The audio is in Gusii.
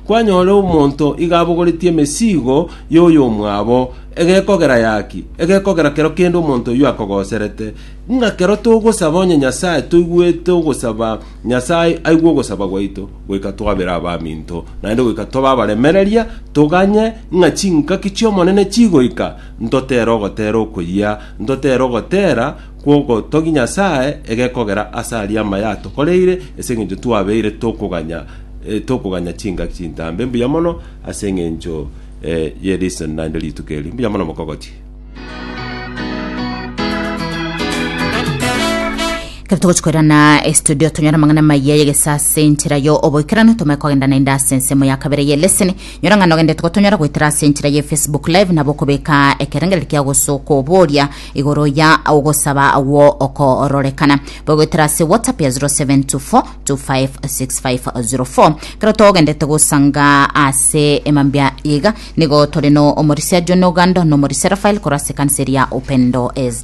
Kwanyora omonto iga abogoretie emesigo y'oyomwabo, egekogera yaki? Egekogera kero kende omonto oyio akogoserete. Ng'a kero togosaba onye Nyasae toigwete ogosaba Nyasae aigwe ogosaba gwaito, goika twabere abaminto, naende goika tobe abaremereria, toganye ng'a chingaki chi'Omonene chigoika, ntotere ogotera okoyia, ntotere ogotera kw'ogotogia Nyasae, egekogera ase aria amaya atokoreire, ase engencho twabeire tokoganya tokoganya chingaki chintambe. Mbuya mono ase engencho ye listen naende rituko eri. Mbuya mono mokogoti. Ekero togochi koirana estudio tonyore amang'ana amaya y'egesa ase enchera yo oboikeranu tomanye kogenda naende ase ensemo ya kabere ye leseni nyora ng'a nogendete gotonyora goetera ase enchera ye facebook live nabo okobeka ekerengererio kia gose okoboria igoro ya ogosaba gwo okororekana bogoetera ase whatsapp ya 0724 256504 Ekero togendete gosanga ase emambia iga nigo tore no omorisia John Ogando na omorisia Rafael korwa ase ekanisa eria Open Door SDA.